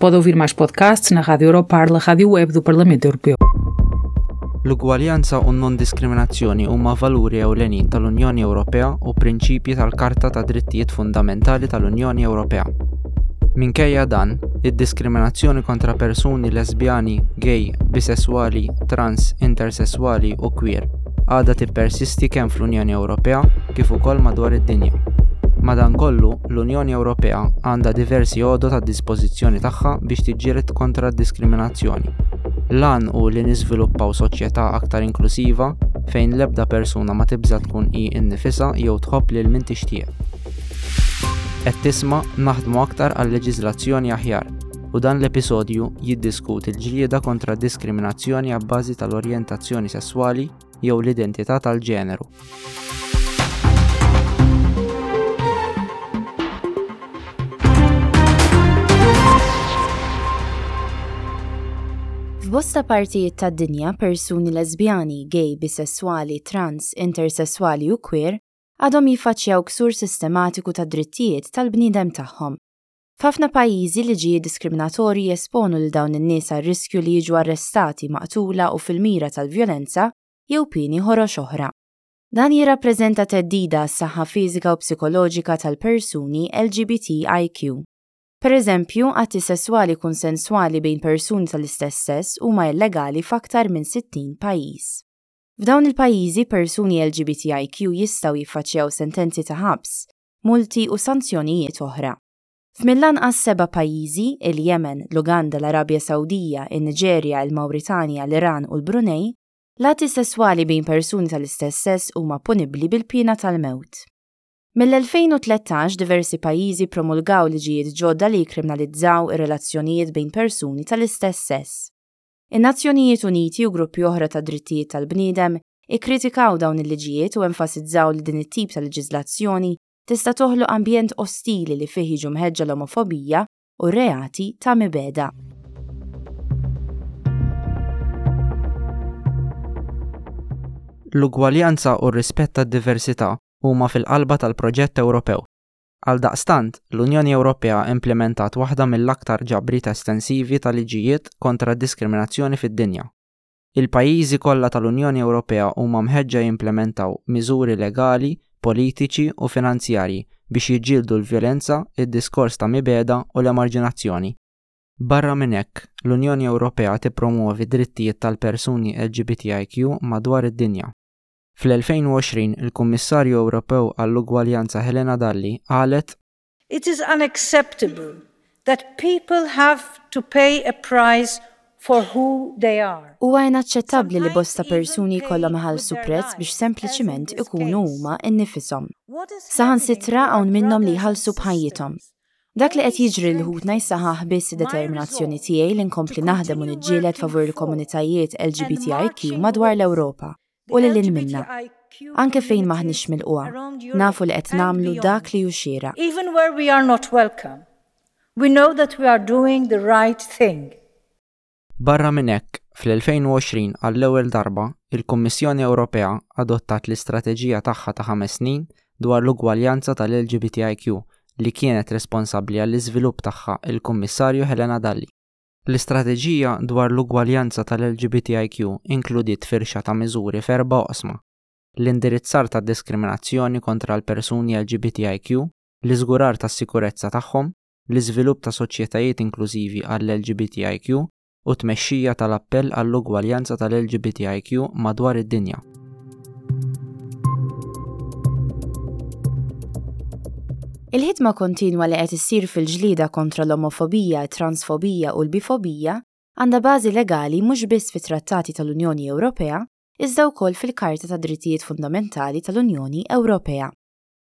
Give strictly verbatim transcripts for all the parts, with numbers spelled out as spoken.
Pode ouvir mais podcasts na Rádio Europarla, rádio web do Parlamento Europeu. L-ugwaljanza u n-non-diskriminazzjoni huma valuri ewlenin tal-Unjoni Ewropea u prinċipji tal-Karta ta' Drittijiet Fundamentali tal-Unjoni Ewropea. Minkejja dan, id-diskriminazzjoni kontra persuni lesbjani, gay, bisesswali, trans, intersesswali u queer għadha tippersisti kemm fl-Unjoni Ewropea kif ukoll madwar id-dinja. Madankollu, l-Unjoni Ewropea għandha diversi għodod għad-dispożizzjoni tagħha biex tiġġieled kontra d-diskriminazzjoni. L-għan hu li niżviluppaw soċjetà aktar inklusiva fejn l-ebda persuna ma tibża tkun hi nnifisha jew tħobb lil min tixtieq. Qed tisma' naħdmu aktar għal leġiżlazzjoni aħjar u dan l-episodju jiddiskuti l-ġlieda kontra diskriminazzjoni abbażi tal-orjentazzjoni sesswali jew l-identità tal-ġeneru. F'bosta partijiet tad-dinja persuni lesbjani, gay, bisesswali, trans, intersesswali u queer għadhom jiffaċċjaw ksur sistematiku ta' drittijiet tal-bniedem tagħhom. F'ħafna pajjiżi liġijiet diskriminatorji jesponu lil dawn in-nies għar-riskju li jiġu arrestati, maqtula u fil-mira tal-vjolenza jew pieni ħorox oħra. Dan jirrappreżenta theddida għas-saħħa fiżika u psikoloġika tal-persuni L G B T I Q. Per eżempju, atti sesswali konsenswali bejn persuni tal-istess sess huma illegali f'aktar minn sittin pajjiż. F'dawn il-pajjiżi persuni L G B T I Q jistgħu jiffaċċjaw sentenzi ta' ħabs, multi u sanzjonijiet oħra. F'mill-anqas seba' pajjiżi, il-Yemen, l-Uganda, l-Arabja Sawdija, in-Niġerja, il-Mawritanja, l-Iran u l-Brunei, l-atti sesswali bejn persuni tal-istess sess huma punibbli bil-piena tal-mewt. Mill-elfejn u tlettax diversi pajjiżi promulgaw liġijiet ġodda li jikkriminalizzaw ir-relazzjonijiet bejn persuni tal-istess sess. In-Nazzjonijiet Uniti u gruppi oħra ta' drittijiet tal-bniedem ikkritikaw dawn il-liġijiet u enfasizzaw li din it-tip ta' leġiżlazzjoni tista' toħloq ambjent ostili li fih jiġu mħeġġa l-omofobija u reati ta' mibegħda. L-ugwaljanza u r-rispett tad-diversità huma fil-qalba tal-proġett Ewropew. Għaldaqstant, l-Unjoni Ewropea implementat waħda mill-aktar ġabriet estensivi ta' liġijiet kontra d-diskriminazzjoni fid-dinja. Il-pajjiżi kollha tal-Unjoni Ewropea huma mħeġġa jimplementaw miżuri legali, politiċi u finanzjarji biex jiġġieldu l-vjolenza, id-diskors ta' mibegħda u l-emarġinazzjoni. Barra minn hekk, l-Unjoni Ewropea tippromuovi drittijiet tal-persuni L G B T I Q madwar id-dinja. Fl-elfejn u għoxrin il-Kummissarju Ewropew għall-Ugwaljanza Helena Dalli qalet: It is unacceptable that people have to pay a price for who they are. Huwa inaċċettabbli li bosta persuni jkollhom iħallsu prezz biex sempliċiment ikunu huma nnifisom. Saħansitra hawn minnhom li jħallsu b'ħajjithom. Dak li qed jiġri lil ħutna jsaħħaħ biss id-determinazzjoni tiegħi li nkompli naħdem u niġġieled favur il-komunitajiet L G B T I Q madwar l-Ewropa u lil hinn minna. Anke fejn m'aħniex milqugħa, nafu li qed nagħmlu dak li hu xieraq. Even where we are not welcome, we know that we are doing the right thing. Barra minn hekk, fl-elfejn u għoxrin għall-ewwel darba, il-Kummissjoni Ewropea adottat l-istrateġija tagħha ta' ħames snin dwar l-ugwaljanza tal-L G B T I Q li kienet responsabbli għall-iżvilupp tagħha il-Kummissarju Helena Dalli. L-istrateġija dwar l-ugwaljanza tal-L G B T I Q inkludiet firxa ta' miżuri f'erba' oqsma: l-indirizzar ta' diskriminazzjoni kontra l-persuni L G B T I Q, l-iżgurar tas-sikurezza tagħhom, l-iżvilupp ta' soċjetajiet inklużivi għall-L G B T I Q u tmexxija tal-appell għall-ugwaljanza tal-L G B T I Q madwar id-dinja. Il-ħidma kontinwa li qed issir fil-ġlieda kontra l-omofobija, transfobija u l-bifobija għandha bażi legali mhux biss fit-Trattati tal-Unjoni Ewropea, iżda wkoll fil-Karta ta' Drittijiet Fundamentali tal-Unjoni Ewropea.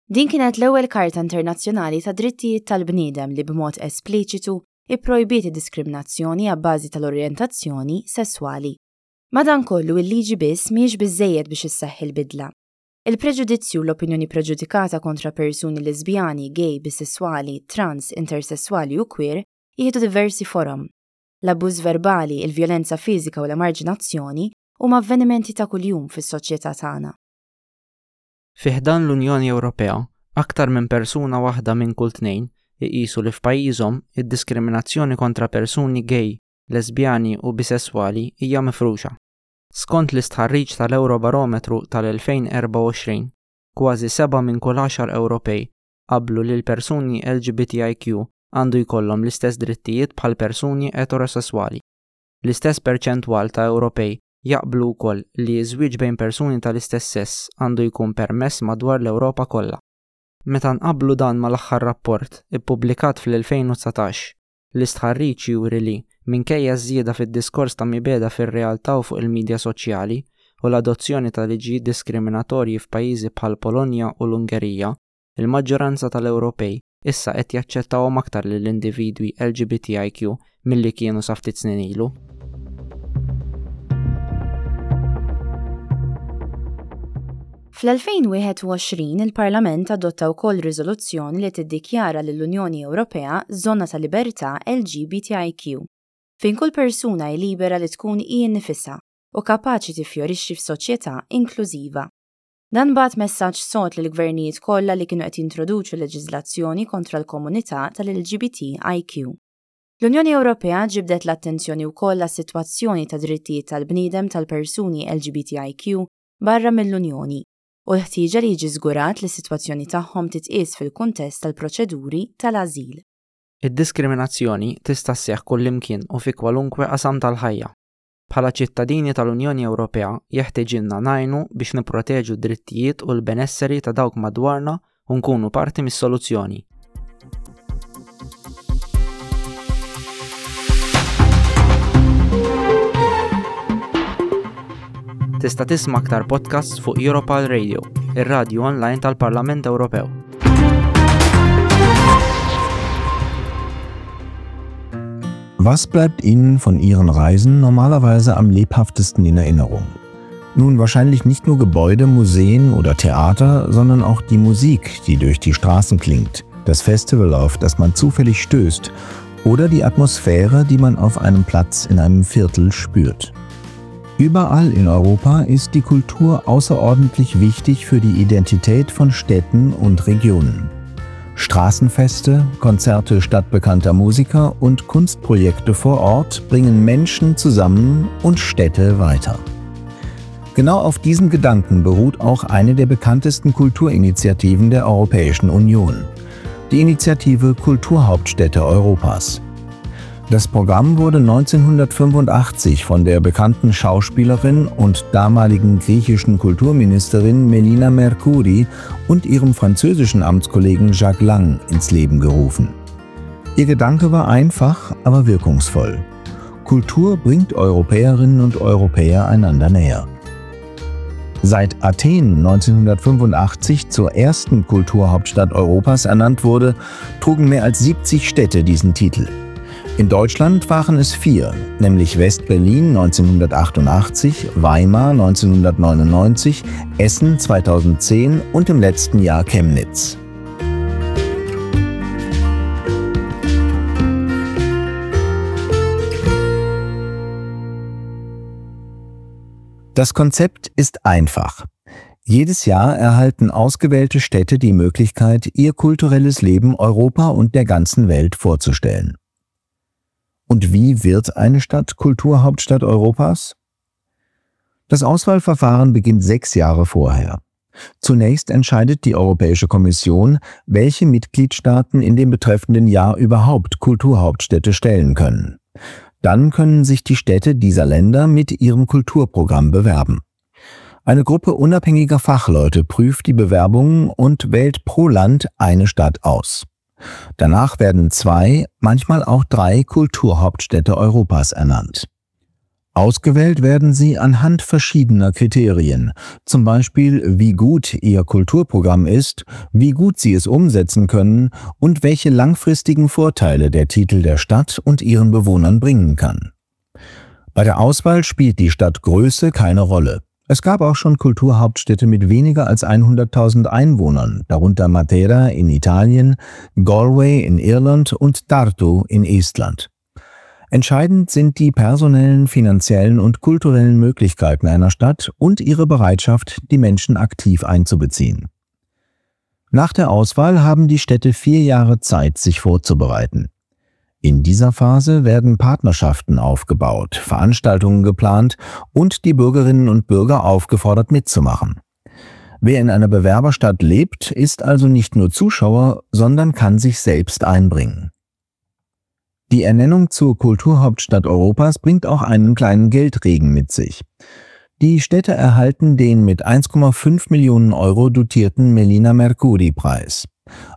Din kienet l-ewwel Karta Internazzjonali ta' Drittijiet tal-Bniedem li b'mod espliċitu ipprojbiet id-diskriminazzjoni għabbażi tal-orjentazzjoni sesswali. Madankollu il-liġi biss mhijiex biżżejjed biex isseħħ il-bidla. Il-preġudizzju u l-opinjoni preġudikata kontra persuni lesbjani, gay, bisessuali, trans, intersessuali u queer jieħdu diversi forom. L-abbuż verbali, il-vjolenza fiżika u l-emarġinazzjoni huma avvenimenti ta' kuljum fis-soċjetà tagħna. Fi ħdan l-Unjoni Ewropea, aktar minn persuna waħda minn kull tnejn iqisu li f'pajjiżhom id-diskriminazzjoni kontra persuni gay, lesbjani u bisesswali hija mifruxa. Skont l-istħarriġ tal-Eurobarometru tal-elfejn erbgħa u għoxrin, kważi seba' minn kull għaxar Ewropej qablu li l-persuni L G B T I Q għandu jkollhom l-istess drittijiet bħal persuni eterosesswali. L-istess perċentwal ta' Ewropej jaqblu wkoll li ż-żwieġ bejn persuni tal-istess sess għandu jkun permess madwar l-Ewropa kollha. Meta nqabblu dan mal-aħħar rapport ippubblikat fl-elfejn u dsatax, l-istħarriġ juri li minkejja ż-żieda fid-diskors ta' mibegħda fir-realtà u fuq il-midja soċjali u l-adozzjoni ta' liġijiet diskriminatorji f'pajjiżi bħal Polonja u l-Ungerija, il-maġġoranza tal-Ewropej issa qed jaċċettawhom aktar lill-individwi L G B T I Q milli kienu sa ftit snin ilu. Fl-elfejn wieħed u għoxrin il-Parlament adotta wkoll riżoluzzjoni li tiddikjara lill-Unjoni Ewropea żona ta' libertà L G B T I Q, fejn kull persuna hi libera li tkun hi nnifisha u kapaċi tiffjorixxi f'soċjetà inklużiva. Dan bagħat messaġġ sod lill-gvernijiet kollha li kienu qed jintroduċu leġiżlazzjoni kontra l-komunità tal-L G B T I Q. L-Unjoni Ewropea ġibdet l-attenzjoni wkoll għas-sitwazzjoni ta' drittijiet tal-bniedem tal-persuni L G B T I Q barra mill-Unjoni u l-ħtieġa li jiġi żgurat li s-sitwazzjoni tagħhom titqies fil-kuntest tal-proċeduri tal-ażil. Id-diskriminazzjoni tista' sseħħ kullimkien u fi kwalunkwe qasam tal-ħajja. Bħala ċittadini tal-Unjoni Ewropea jeħtieġilna ngħinu biex nipproteġu d-drittijiet u l-benesseri ta' dawk madwarna u nkunu parti mis-soluzzjoni. Tista' tisma' aktar podcasts fuq Europarl Radio, ir-radju online tal-Parlament Ewropew. Was bleibt Ihnen von Ihren Reisen normalerweise am lebhaftesten in Erinnerung? Nun, wahrscheinlich nicht nur Gebäude, Museen oder Theater, sondern auch die Musik, die durch die Straßen klingt, das Festival, auf das man zufällig stößt, oder die Atmosphäre, die man auf einem Platz in einem Viertel spürt. Überall in Europa ist die Kultur außerordentlich wichtig für die Identität von Städten und Regionen. Straßenfeste, Konzerte stadtbekannter Musiker und Kunstprojekte vor Ort bringen Menschen zusammen und Städte weiter. Genau auf diesem Gedanken beruht auch eine der bekanntesten Kulturinitiativen der Europäischen Union, die Initiative Kulturhauptstädte Europas. Das Programm wurde neunzehnhundertfünfundachtzig von der bekannten Schauspielerin und damaligen griechischen Kulturministerin Melina Mercouri und ihrem französischen Amtskollegen Jacques Lang ins Leben gerufen. Ihr Gedanke war einfach, aber wirkungsvoll. Kultur bringt Europäerinnen und Europäer einander näher. Seit Athen neunzehnhundertfünfundachtzig zur ersten Kulturhauptstadt Europas ernannt wurde, trugen mehr als siebzig Städte diesen Titel. In Deutschland waren es vier, nämlich West-Berlin neunzehnhundertachtundachtzig, Weimar neunzehnhundertneunundneunzig, Essen zweitausendzehn und im letzten Jahr Chemnitz. Das Konzept ist einfach. Jedes Jahr erhalten ausgewählte Städte die Möglichkeit, ihr kulturelles Leben Europa und der ganzen Welt vorzustellen. Und wie wird eine Stadt Kulturhauptstadt Europas? Das Auswahlverfahren beginnt sechs Jahre vorher. Zunächst entscheidet die Europäische Kommission, welche Mitgliedstaaten in dem betreffenden Jahr überhaupt Kulturhauptstädte stellen können. Dann können sich die Städte dieser Länder mit ihrem Kulturprogramm bewerben. Eine Gruppe unabhängiger Fachleute prüft die Bewerbungen und wählt pro Land eine Stadt aus. Danach werden zwei, manchmal auch drei Kulturhauptstädte Europas ernannt. Ausgewählt werden sie anhand verschiedener Kriterien, zum Beispiel wie gut ihr Kulturprogramm ist, wie gut sie es umsetzen können und welche langfristigen Vorteile der Titel der Stadt und ihren Bewohnern bringen kann. Bei der Auswahl spielt die Stadtgröße keine Rolle. Es gab auch schon Kulturhauptstädte mit weniger als hunderttausend Einwohnern, darunter Matera in Italien, Galway in Irland und Tartu in Estland. Entscheidend sind die personellen, finanziellen und kulturellen Möglichkeiten einer Stadt und ihre Bereitschaft, die Menschen aktiv einzubeziehen. Nach der Auswahl haben die Städte vier Jahre Zeit, sich vorzubereiten. In dieser Phase werden Partnerschaften aufgebaut, Veranstaltungen geplant und die Bürgerinnen und Bürger aufgefordert mitzumachen. Wer in einer Bewerberstadt lebt, ist also nicht nur Zuschauer, sondern kann sich selbst einbringen. Die Ernennung zur Kulturhauptstadt Europas bringt auch einen kleinen Geldregen mit sich. Die Städte erhalten den mit eins Komma fünf Millionen Euro dotierten Melina Mercouri-Preis.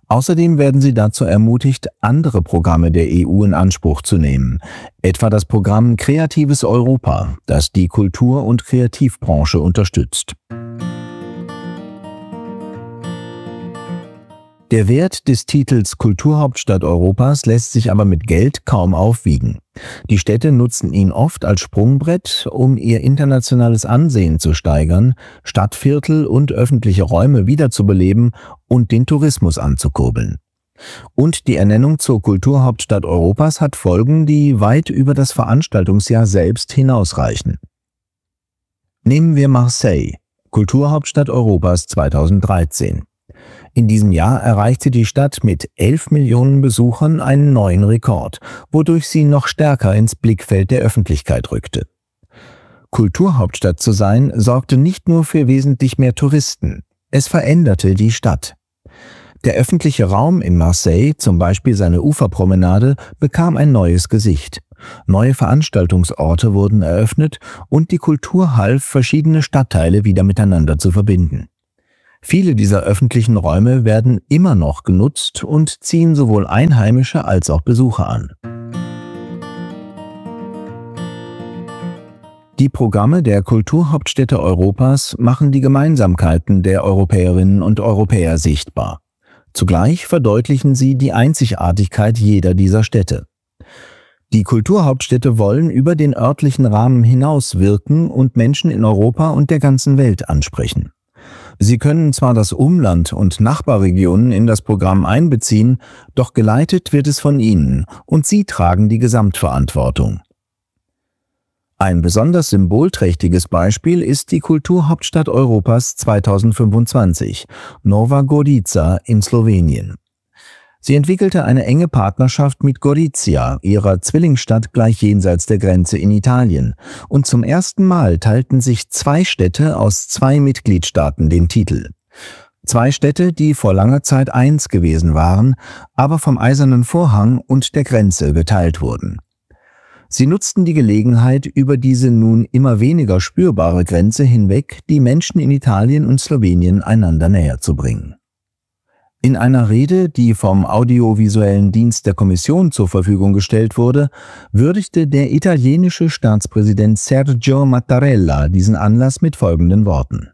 Außerdem werden sie dazu ermutigt, andere Programme der E U in Anspruch zu nehmen, etwa das Programm Kreatives Europa, das die Kultur- und Kreativbranche unterstützt. Der Wert des Titels Kulturhauptstadt Europas lässt sich aber mit Geld kaum aufwiegen. Die Städte nutzen ihn oft als Sprungbrett, um ihr internationales Ansehen zu steigern, Stadtviertel und öffentliche Räume wiederzubeleben und den Tourismus anzukurbeln. Und die Ernennung zur Kulturhauptstadt Europas hat Folgen, die weit über das Veranstaltungsjahr selbst hinausreichen. Nehmen wir Marseille, Kulturhauptstadt Europas zweitausenddreizehn. In diesem Jahr erreichte die Stadt mit elf Millionen Besuchern einen neuen Rekord, wodurch sie noch stärker ins Blickfeld der Öffentlichkeit rückte. Kulturhauptstadt zu sein, sorgte nicht nur für wesentlich mehr Touristen, es veränderte die Stadt. Der öffentliche Raum in Marseille, zum Beispiel seine Uferpromenade, bekam ein neues Gesicht. Neue Veranstaltungsorte wurden eröffnet und die Kultur half, verschiedene Stadtteile wieder miteinander zu verbinden. Viele dieser öffentlichen Räume werden immer noch genutzt und ziehen sowohl Einheimische als auch Besucher an. Die Programme der Kulturhauptstädte Europas machen die Gemeinsamkeiten der Europäerinnen und Europäer sichtbar. Zugleich verdeutlichen sie die Einzigartigkeit jeder dieser Städte. Die Kulturhauptstädte wollen über den örtlichen Rahmen hinaus wirken und Menschen in Europa und der ganzen Welt ansprechen. Sie können zwar das Umland und Nachbarregionen in das Programm einbeziehen, doch geleitet wird es von ihnen und sie tragen die Gesamtverantwortung. Ein besonders symbolträchtiges Beispiel ist die Kulturhauptstadt Europas zweitausendfünfundzwanzig, Nova Gorica in Slowenien. Sie entwickelte eine enge Partnerschaft mit Gorizia, ihrer Zwillingsstadt gleich jenseits der Grenze in Italien. Und zum ersten Mal teilten sich zwei Städte aus zwei Mitgliedstaaten den Titel. Zwei Städte, die vor langer Zeit eins gewesen waren, aber vom Eisernen Vorhang und der Grenze geteilt wurden. Sie nutzten die Gelegenheit, über diese nun immer weniger spürbare Grenze hinweg die Menschen in Italien und Slowenien einander näher zu bringen. In einer Rede, die vom audiovisuellen Dienst der Kommission zur Verfügung gestellt wurde, würdigte der italienische Staatspräsident Sergio Mattarella diesen Anlass mit folgenden Worten.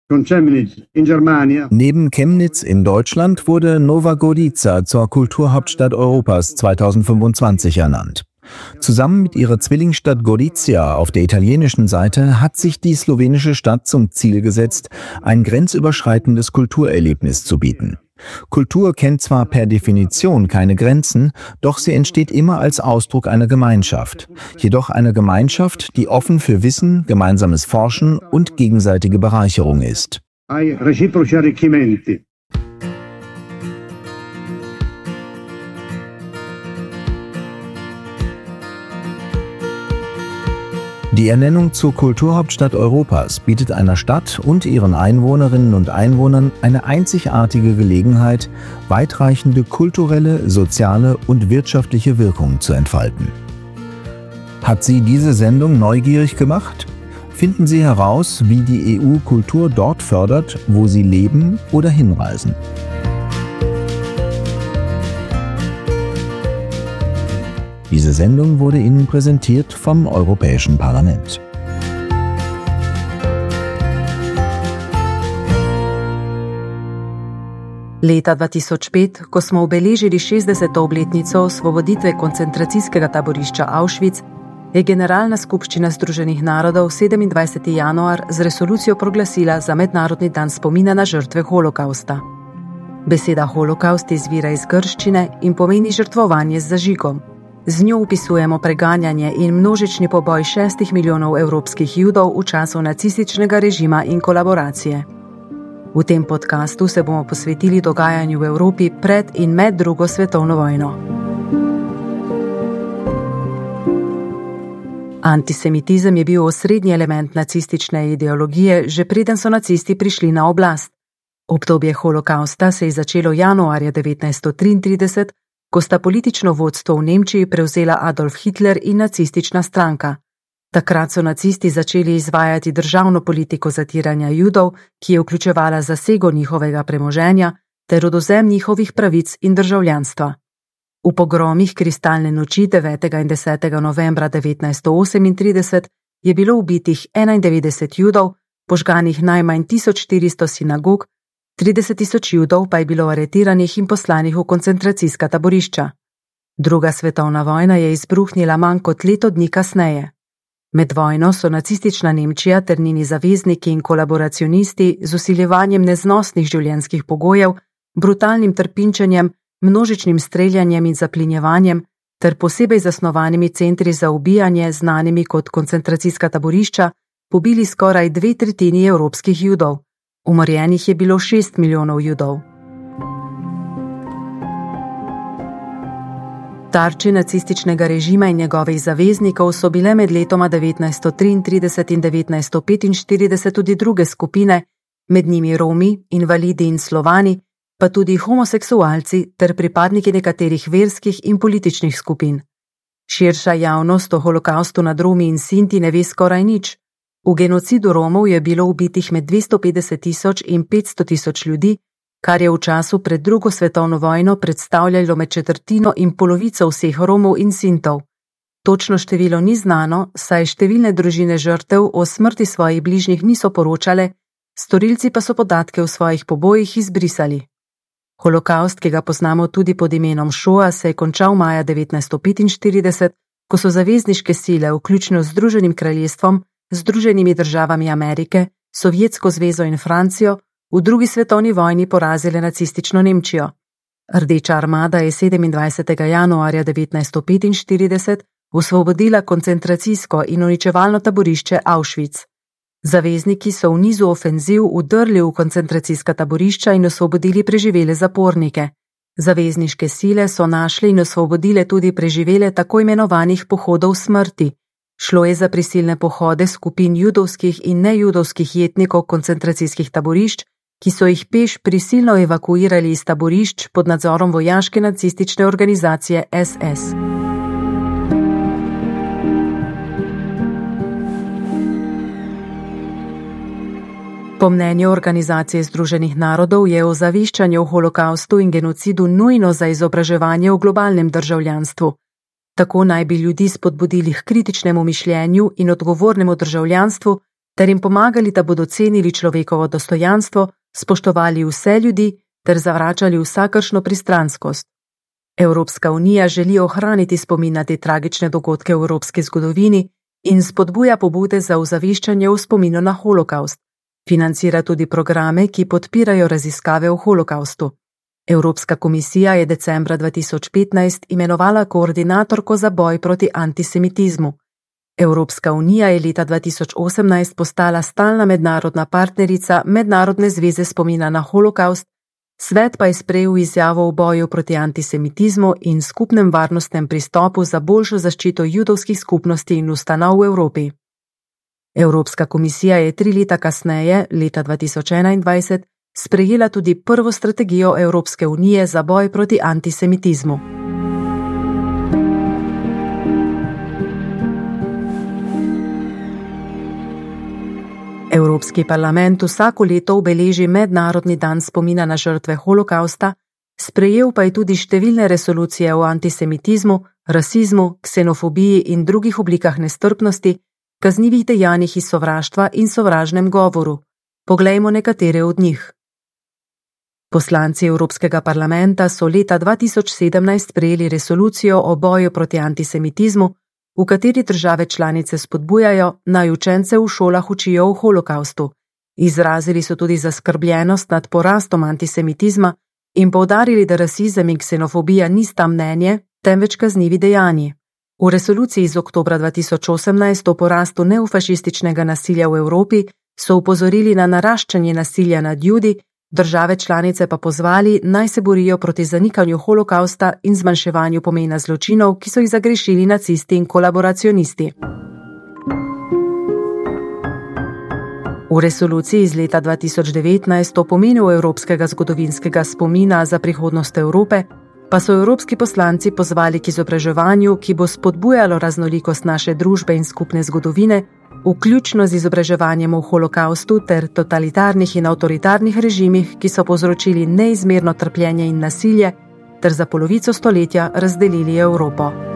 Con Chemnitz in Germania. Neben Chemnitz in Deutschland wurde Nova Gorica zur Kulturhauptstadt Europas zweitausendfünfundzwanzig ernannt. Zusammen mit ihrer Zwillingsstadt Gorizia auf der italienischen Seite hat sich die slowenische Stadt zum Ziel gesetzt, ein grenzüberschreitendes Kulturerlebnis zu bieten. Kultur kennt zwar per Definition keine Grenzen, doch sie entsteht immer als Ausdruck einer Gemeinschaft. Jedoch einer Gemeinschaft, die offen für Wissen, gemeinsames Forschen und gegenseitige Bereicherung ist. Ai reciproci arricchimenti. Die Ernennung zur Kulturhauptstadt Europas bietet einer Stadt und ihren Einwohnerinnen und Einwohnern eine einzigartige Gelegenheit, weitreichende kulturelle, soziale und wirtschaftliche Wirkungen zu entfalten. Hat Sie diese Sendung neugierig gemacht? Finden Sie heraus, wie die E U Kultur dort fördert, wo Sie leben oder hinreisen. Diese Sendung wurde Ihnen präsentiert vom Europäischen Parlament. Leta dva tisoč pet, ko smo obeležili šestdeseto obletnico osvoboditve koncentracijskega taborišča Auschwitz, je Generalna skupščina Združenih narodov sedemindvajseti januar z resolucijo proglasila za Mednarodni dan spomina na žrtve holokavsta. Beseda holokaust izvira iz grščine in pomeni žrtvovanje z zažigom. Z njo opisujemo preganjanje in množični poboj šestih milijonov evropskih Judov v času nacističnega režima in kolaboracije. V tem podcastu se bomo posvetili dogajanju v Evropi pred in med drugo svetovno vojno. Antisemitizem je bil osrednji element nacistične ideologije, že preden so nacisti prišli na oblast. Obdobje holokavsta se je začelo januarja devetnajststo triintrideset, ko sta politično vodstvo v Nemčiji prevzela Adolf Hitler in nacistična stranka. Takrat so nacisti začeli izvajati državno politiko zatiranja Judov, ki je vključevala zasego njihovega premoženja ter odvzem njihovih pravic in državljanstva. V pogromih Kristalne noči devetega in desetega novembra devetnajststo osemintrideset je bilo ubitih enaindevetdeset Judov, požganih najmanj tisoč štiristo sinagog, trideset tisoč Judov pa je bilo aretiranih in poslanih v koncentracijska taborišča. Druga svetovna vojna je izbruhnila manj kot leto dni kasneje. Med vojno so nacistična Nemčija ter njeni zavezniki in kolaboracionisti z vsiljevanjem neznosnih življenjskih pogojev, brutalnim trpinčenjem, množičnim streljanjem in zaplinjevanjem ter posebej zasnovanimi centri za ubijanje, znanimi kot koncentracijska taborišča, pobili skoraj dve tretjini evropskih Judov. Umorjenih je bilo šest milijonov Judov. Tarče nacističnega režima in njegovih zaveznikov so bile med letoma devetnajststo triintrideset in devetnajststo petinštirideset tudi druge skupine, med njimi Romi, invalidi in Slovani, pa tudi homoseksualci ter pripadniki nekaterih verskih in političnih skupin. Širša javnost o holokavstu nad Romi in Sinti ne ve skoraj nič. V genocidu Romov je bilo ubitih med dvesto petdeset tisoč in petsto tisoč ljudi, kar je v času pred drugo svetovno vojno predstavljalo med četrtino in polovico vseh Romov in Sintov. Točno število ni znano, saj številne družine žrtev o smrti svojih bližnjih niso poročale, storilci pa so podatke o svojih pobojih izbrisali. Holokavst, ki ga poznamo tudi pod imenom Šoa, se je končal maja devetnajststo petinštirideset, ko so zavezniške sile, vključno z Združenim kraljestvom, Združenimi državami Amerike, Sovjetsko zvezo in Francijo, v drugi svetovni vojni porazile nacistično Nemčijo. Rdeča armada je sedemindvajsetega januarja devetnajststo petinštirideset osvobodila koncentracijsko in uničevalno taborišče Auschwitz. Zavezniki so v nizu ofenziv vdrli v koncentracijska taborišča in osvobodili preživele zapornike. Zavezniške sile so našle in osvobodile tudi preživele tako imenovanih pohodov smrti. Šlo je za prisilne pohode skupin judovskih in nejudovskih jetnikov koncentracijskih taborišč, ki so jih peš prisilno evakuirali iz taborišč pod nadzorom vojaške nacistične organizacije S S. Po mnenju Organizacije združenih narodov je ozaveščanje o holokavstu in genocidu nujno za izobraževanje o globalnem državljanstvu. Tako naj bi ljudi spodbudili h kritičnemu mišljenju in odgovornemu državljanstvu ter jim pomagali, da bodo cenili človekovo dostojanstvo, spoštovali vse ljudi ter zavračali vsakršno pristranskost. Evropska unija želi ohraniti spomin na te tragične dogodke v evropski zgodovini in spodbuja pobude za ozaveščanje o spominu na holokavst. Financira tudi programe, ki podpirajo raziskave o holokavstu. Evropska komisija je decembra dva tisoč petnajst imenovala koordinatorko za boj proti antisemitizmu. Evropska unija je leta dva tisoč osemnajst postala stalna mednarodna partnerica Mednarodne zveze spomina na holokavst, svet pa je sprejel izjavo o boju proti antisemitizmu in skupnem varnostnem pristopu za boljšo zaščito judovskih skupnosti in ustanov v Evropi. Evropska komisija je tri leta kasneje, leta dva tisoč enaindvajset, sprejela tudi prvo strategijo Evropske unije za boj proti antisemitizmu. Evropski parlament vsako leto obeleži Mednarodni dan spomina na žrtve holokavsta, sprejel pa je tudi številne resolucije o antisemitizmu, rasizmu, ksenofobiji in drugih oblikah nestrpnosti, kaznivih dejanjih iz sovraštva in sovražnem govoru. Poglejmo nekatere od njih. Poslanci Evropskega parlamenta so leta dva tisoč sedemnajst sprejeli resolucijo o boju proti antisemitizmu, v kateri države članice spodbujajo, naj učence v šolah učijo o holokavstu. Izrazili so tudi zaskrbljenost nad porastom antisemitizma in poudarili, da rasizem in ksenofobija nista mnenje, temveč kaznivi dejanji. V resoluciji iz oktobra dva tisoč osemnajst o porastu neofašističnega nasilja v Evropi so opozorili na naraščanje nasilja nad Judi, države članice pa pozvali, naj se borijo proti zanikanju holokavsta in zmanjševanju pomena zločinov, ki so jih zagrešili nacisti in kolaboracionisti. V resoluciji iz leta dva tisoč devetnajst o pomenu evropskega zgodovinskega spomina za prihodnost Evrope pa so evropski poslanci pozvali k izobraževanju, ki bo spodbujalo raznolikost naše družbe in skupne zgodovine, vključno z izobraževanjem o holokavstu ter totalitarnih in avtoritarnih režimih, ki so povzročili neizmerno trpljenje in nasilje ter za polovico stoletja razdelili Evropo.